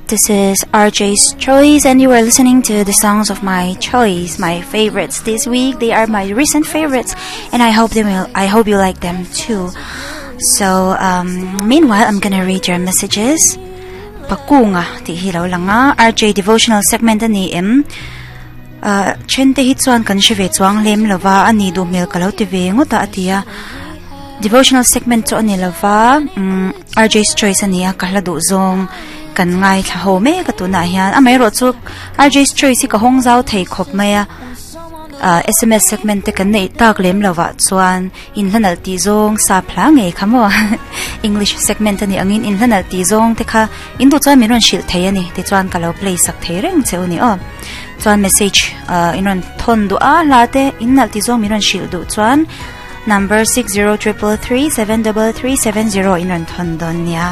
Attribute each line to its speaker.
Speaker 1: This is RJ's Choice, and you are listening to the songs of my choice, my favorites this week. They are my recent favorites, and I hope they will. I hope you like them too. So, um, meanwhile, I'm gonna read your messages. Pakunga tih hi lo lang a, RJ devotional segment a ni em? Uh, then te hi chuan kan hre ve chuang lem lova a ni duh hmel ka lo ti ve ngawt a a ti a. Devotional segment chu a ni lova, um, RJ's choice a ni a, ka hla duh zawng kan ngaithla ho mek a tunah hian. Amaherawh chu RJ's choice hi ka hawng zau thei khawp mai a, uh, SMS segment te kan neih tak lem lovah chuan In hlanalh tih zawng sap hla ngei kha maw? English segment a nih angin in hlanalh tih zawng te kha in duh chuan min rawn hrilh thei a ni tichuan ka lo play sak thei reng che u ni aw. Chuan message ah in rawn thawn duh a hla te in nalh tih zawng min rawn hrilh duh chuan number 6033373370 in rawn thawn dawn nia.